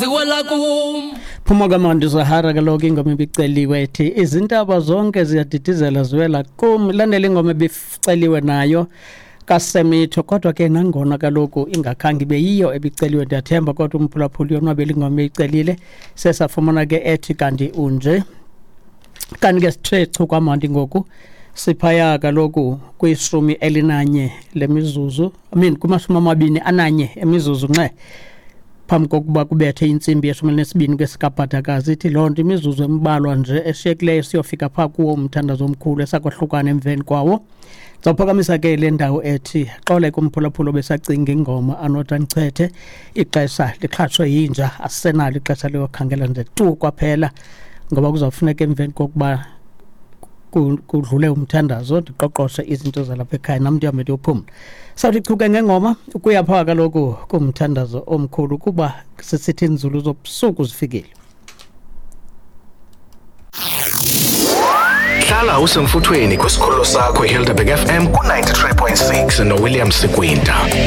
Ziwela kum. Phuma kamandi Zahara, kaloku ingoma ibiceliwe ethi izintaba zonke ziyadidizela ziwela kum. Ilandela ingoma ebiceliwe nayo kaSemitho, kodwa ke nangona kaloku ingakhange ibe yiyo ebiceliwe, ndiyathemba kodwa umphulaphuli yonwabela ingoma eyicelile. Sesafumana ke ethi kanti unje. Kanti ke sithe chu kwamandi ngoku siphaya kaloku kwishumi elinanye lemizuzu, I mean kumashumi amabini ananye emizuzu nxe phambi kokuba kubethe intsimbi yeshumi elinesibini kwesikabhadakazi. Ithi loo nto imizuzu embalwa nje eshiyekileyo siyofika phaa kuwo umthandazo omkhulu esakwahlukana emveni kwawo. Ndizawuphakamisa ke le ndawo ethi xole kumphulaphula obesacinga ingoma anothi andichethe, ixesha lixhatshwe yinja, asisenalo ixesha liyokhangela nje tu kwaphela, ngoba kuzawufuneka emveni kokuba kudlule umthandazo ndiqoqoshe izinto zalapha ekhaya nam ndihambe ndiyophumla. Sawuthi chuke ngengoma ukuya phaa kaloku kumthandazo omkhulu, kuba sisithi iinzulu zobusuku zifikile. Hlala usemfuthweni kwisikhululo sakho iHelderberg FM ku-93.6 noWilliam Sikwinta.